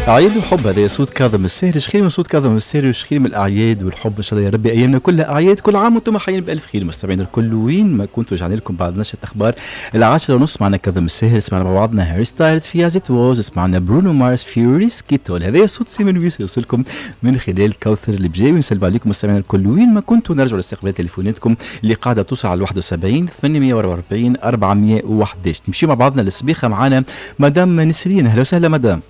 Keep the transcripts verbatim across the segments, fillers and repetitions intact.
أعياد وحب، هذا صوت كاظم الساهر. خير من صوت كاظم الساهر وش خير من الأعياد والحب. إن شاء الله يا ربي أيامنا كلها أعياد، كل عام وأنتم حيين بألف خير مستمعين الكل وين ما كنتوا. رجعنا لكم بعد نشرة أخبار العاشرة ونص، معنا كاظم الساهر، سمعنا مع بعضنا هاري ستايلز في As It Was، سمعنا برونو مارس في Risk It All. هذا صوت سيمون ويس يوصلكم من خلال كوثر البجاوي. نسلم عليكم مستمعين الكل وين ما كنتوا. نرجعوا لاستقبال تليفوناتكم اللي قاعدة توصل على واحد وسبعين ثمانمية وأربعة وأربعين أربعمية وأحد عشر. نمشي مع بعضنا للسبيخة، معنا مدام نسرين. أهلا وسهلا مدام.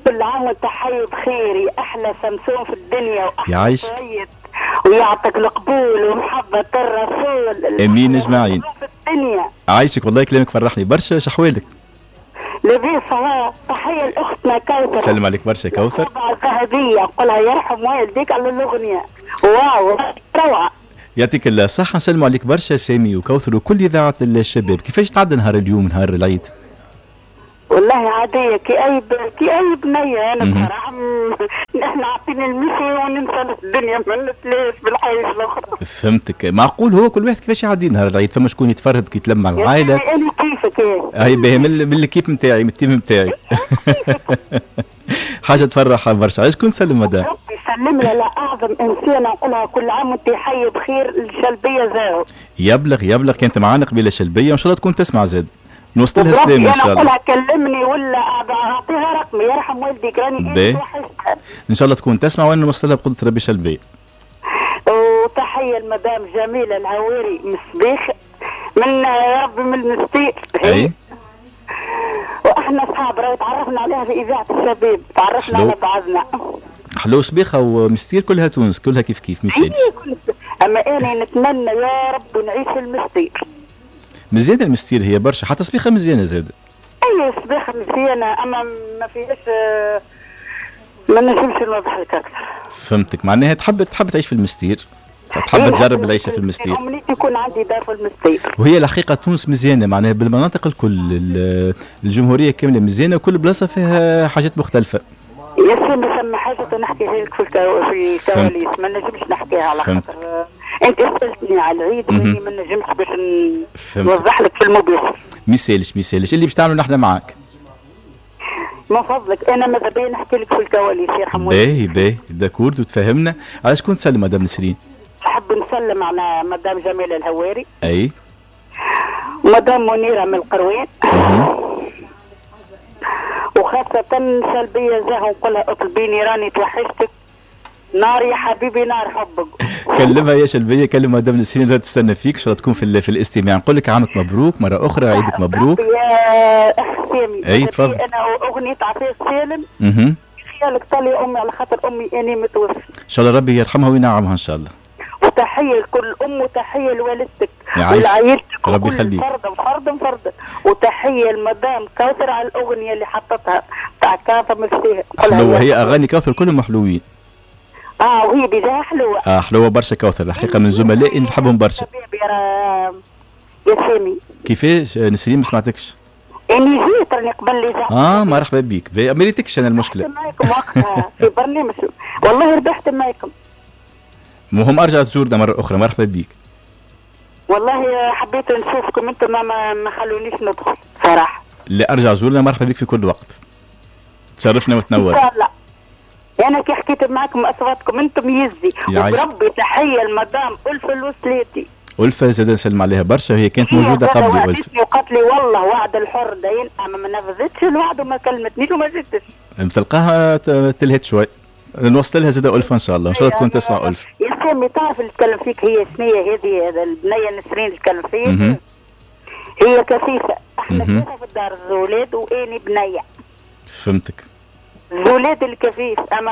كل عام وانت حي بخير يا احلى سمسوم في الدنيا واحلى سيد، ويعطيك القبول ومحبه الرسول. امين اجمعين. في الدنيا عايشك، والله كلامك فرحني برشا. شحوالك؟ لاباس. تحية لاختنا كوثر. سلم عليك برشا كوثر. الذهبية نقولها يرحم والديك على الاغنية، واو روعه. يعطيك الصحة. نسلموا عليك برشا سامي وكوثر وكل اذاعة الشباب. كيفاش تعدى نهار اليوم نهار العيد؟ والله عادية كي أي ب... كي أي بنية أنا بصراحة. نحن عاطين المشي وننسى الدنيا ما نتلاش بالحياة الأخرى. فهمتك. معقول هو كل واحد كيفاش يعدي نهار العيد، فما شكون يتفرهد كي يتلم مع العائلة. أنا كيفك إيه؟ هاي باهي من l'équipe نتاعي، من ال team نتاعي. حاجة تفرح برشا. علاش شكون نسلم مدام؟ ربي يسلم لها لأعظم إنسانة نقولها كل عام وأنت حي بخير، الشلبية زاهو. يبلغ يبلغ كانت معانا قبيلة شلبية وإن شاء الله تكون تسمع زاد. نوصل لها سلام ان شاء الله. انا كلمني ولا اعطيها رقمي يرحم والديك راني وحشتها. ان شاء الله تكون تسمع وانا نوصل لها بقدره ربي شلبيه. وتحية المدام جميلة الهواري من السبيخ، من يا ربي من المستير. اي واحنا اصحاب راهو تعرفنا عليها في اذاعة الشباب، تعرفنا على بعضنا. حلو سبيخه ومستير كلها تونس، كلها كيف كيف ميسالش. اما انا نتمنى يا رب نعيش في المستير. مزيانه المستير هي برشا، حتى سبيخه مزيانه زاد. اي سبيخه مزيانه اما ما فيهاش، ما نجمش نوضح لك اكثر. فهمتك، معناها تحب تحب تعيش في المستير، تحب تجرب العيشة في المستير. امنيتي يكون عندي دار في المستير. وهي الحقيقة تونس مزيانه معناها بالمناطق الكل، الجمهورية كاملة مزيانه وكل بلاصة فيها حاجات مختلفة. يا سيدي ثم حاجة نحكيها لك في الكواليس ما نجمش نحكيها على خاطر انت سالتني على العيد واني ما نجمش باش نوضح لك في المباشر. ميسالش ميسالش اللي باش تعملوا نحن معاك. من فضلك انا ماذا بيا نحكي لك في الكواليس يرحم والديك. باهي باهي d'accord وتفاهمنا. على شكون تسلم مدام نسرين؟ نحب نسلم على مدام جميلة الهواري. اي. مدام منيرة من القروان. وخاصة سلبية زاهو نقولها اطلبيني راني توحشتك نار يا حبيبي نار حبك. كلمها يا شلبيه، كلم مدام نسرين راه تستنى فيك، ان شاء الله تكون في في الاستماع. نقول لك عامك مبروك مرة اخرى، عيدك مبروك. يا اخ سامي. اي تفضل. انا اغنية عفاف سالم. اها. خيالك طالي امي على خاطر امي اني متوفيه. ان شاء الله ربي يرحمها وينعمها ان شاء الله. وتحية لكل ام وتحية لوالدتك ولعائلتك ربي يخليك. فرد فرد فرد. وتحية لمدام كوثر على الاغنية اللي حطتها تاع كاظم الساهر. حلوة هي اغاني كوثر كلهم حلوين. اه وهي déjà حلوة. اه حلوة برشا كوثر الحقيقة، من زملائي نحبهم برشا. يا سامي. كيفاش نسرين ما سمعتكش؟ اني جيت راني قبل لي اه مرحبا بك، ما ريتكش انا المشكلة. معاكم وقتها في برنامج والله ربحت معاكم. المهم ارجع تزورنا مرة اخرى، مرحبا بك. والله حبيت نشوفكم انتم ما ما خلونيش ندخل صراحة. لا ارجع زورنا، مرحبا بك في كل وقت. تشرفنا وتنور. ان شاء الله. انا كي حكيت معاكم اصواتكم انتم يزي. وبربي تحية لمدام ألفة الوسلاتي. ألفة زاد نسلم عليها برشا، هي كانت موجودة قبلي ألفة. وقالت لي والله وعد الحر داين، اما ما نفذتش الوعد وما كلمتنيش وما جبتش. تلقاها تلهت شوي. نوصل لها زاد ألفة إن شاء الله، إن شاء الله تكون تسمع ألفة. يا سامي تعرف اللي تكلم فيك هي شنية هذه، هذا البنية نسرين اللي تكلم فيك هي كفيفة، احنا ثلاثة في الدار الزولاد واني بنية. فهمتك. الزولاد الكفيف، اما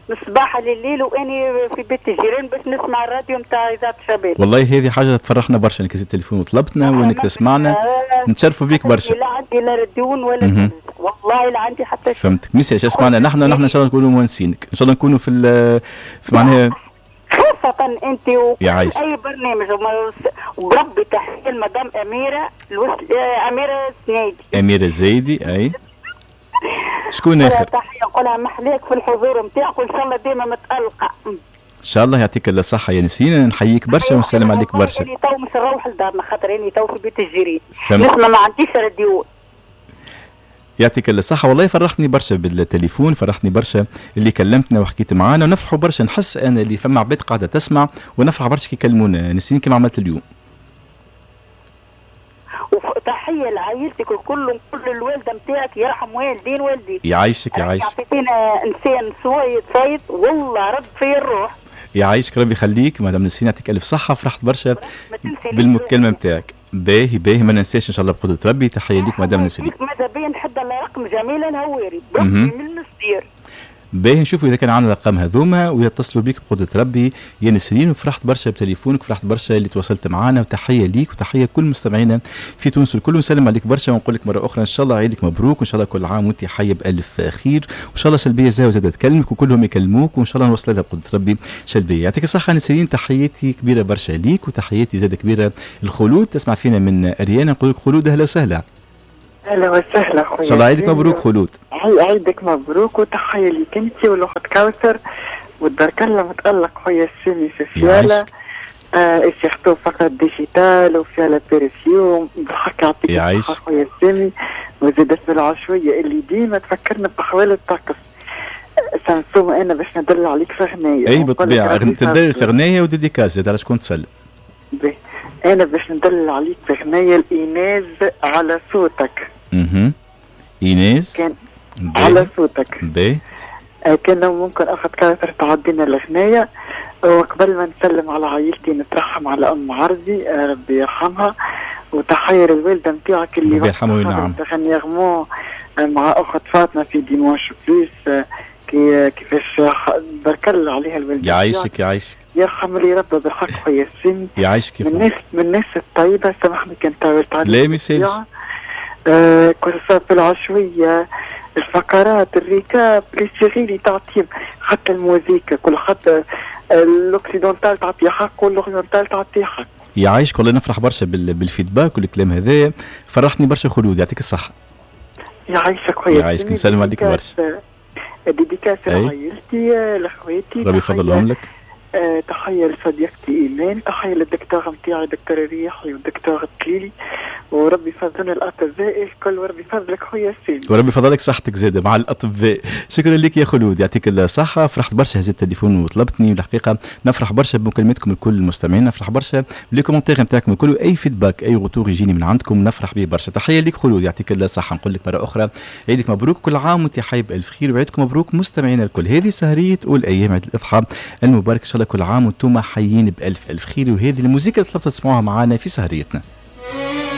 من الصباح لليل واني في بيت الجيران باش نسمع الراديو نتاع اذاعة الشباب. والله هذه حاجة تفرحنا برشا انك هزيت التليفون وطلبتنا وانك تسمعنا، نتشرفوا بيك برشا. لا عندي لا راديون ولا والله لا عندي حتى شيء. فهمتك، ميسالش اسمعنا نحن نحن ان شاء الله نكونوا مونسينك، ان شاء الله نكونوا في في معناها خاصة انت وكل اي برنامج. وبربي تحية لمدام اميره الوس... اميره السنيدي. اميره الزايدي اي. شكون اخر؟ تحية نقولها محليك في الحضور نتاعك وان شاء الله ديما متالقه. ان شاء الله يعطيك الصحة يا نسرين، نحييك برشا ونسلم عليك برشا. اني تو مش نروح لدارنا خاطر اني تو في بيت الجيران. نسمع ما عنديش راديو. يعطيك الصحة، والله فرحتني برشا بالتليفون، فرحتني برشا اللي كلمتنا وحكيت معانا، ونفرحوا برشا، نحس انا اللي فما عباد قاعدة تسمع ونفرح برشا كي يكلمونا نسرين كما عملت اليوم. وتحية لعائلتك الكل وكل الوالدة نتاعك، يرحم والدين والديك. يعيشك يعيشك. عطيتينا انسان صويت صايت والله رد في الروح. يعيشك ربي يخليك مدام نسرين، يعطيك الف صحة، فرحت برشا بالمكالمه نتاعك. باهي باهي ما ننساش ان شاء الله بقدره ربي. تحية ليك مدام نسرين. ماذا بيا نحب على رقم جميلة الهواري من المستير. باهي نشوفوا اذا كان عندنا الارقام هذوما ويتصلوا بيك بقدره ربي يا نسرين. وفرحت برشا بتليفونك، فرحت برشا اللي تواصلت معنا، وتحية ليك وتحية كل مستمعينا في تونس الكل، ونسلم عليك برشا ونقول لك مرة اخرى ان شاء الله عيدك مبروك، وان شاء الله كل عام وانت حيه بالف خير، وان شاء الله شلبيه زاوية زادة تكلمك وكلهم يكلموك، وان شاء الله نوصل لها بقدره ربي شلبيه. يعطيك الصحة نسرين، تحياتي كبيرة برشا ليك، وتحياتي زادة كبيرة الخلود تسمع فينا من اريانا. نقول لك خلود اهلا وسهلا. اهلا وسهلا خويا، ان شاء الله عيدك مبروك خلود. عيدك مبروك، وتحية ليك انت والاخت كوثر وتبارك الله متالق خويا السامي في فيالا، آه surtout فقط digital وفيالا perfume، بالحق يعطيك الصحة خويا السامي. وزاد في العشويه اللي ديما تفكرنا باحوال الطقس. سمسوم انا باش ندل عليك في غنايه. اي بالطبيعة تدل في غنايه و dédicace على شكون تسلم. باهي انا باش ندل عليك في غنايه الايناز على صوتك. اها ايناس كان على صوتك. باهي آه كان ممكن اخذ كوثر تعدينا الغنايه. وقبل ما نسلم على عائلتي نترحم على ام عربي آه ربي يرحمها، وتحية للوالده نتاعك اللي ربي يرحمها وينعم dernièrement مع اخت فاطمة في Dimanche Plus، كي كيفاش بارك الله عليها الوالدة. يعيشك يعيشك يرحم اللي ربى بالحق خويا السن. يعيشك من الناس من الناس الطيبة. سامحني كان طولت عليك. لا ما يسالش. آه كل في العشويه الفقرات ال récap les séries اللي تعطيهم، حتى الموزيكا كل حتى ال occidental تعطي حق وال oriental تعطي حق. يعيشك والله نفرح برشا بال feedback والكلام هذا، فرحتني برشا خلود، يعطيك الصحة. يعيشك خويا. يعيشك نسلم عليك برشا. dédicace لعائلتي لاخواتي ربي يفضلهم لك. أه تحية لصديقتي ايمان، تحية للدكتور نتاعي دكتور الريحي والدكتور التليلي، وربي يفضلنا الاطباء الكل، وربي يفضلك خويا سامي، وربي يفضلك صحتك زاده مع الاطباء. شكرا لك يا خلود، يعطيك الصحة، فرحت برشا هزيت التليفون وطلبتني، والحقيقة نفرح برشا بمكالمتكم الكل المستمعين، نفرح برشا ب les commentaires نتاعكم الكل، اي feedback اي retour يجيني من عندكم نفرح به برشا. تحية لك خلود، يعطيك الصحة. نقول لك مرة اخرى عيدك مبروك، كل عام وانت حي بالف خير، وعيدكم مبروك مستمعينا الكل. هذه سهريه اولى ايام عيد الاضحى المبارك، ان شاء الله كل عام وانتم حيين بالف الف خير. وهذه الموسيقى اللي طلبت تسمعوها معنا في سهريتنا.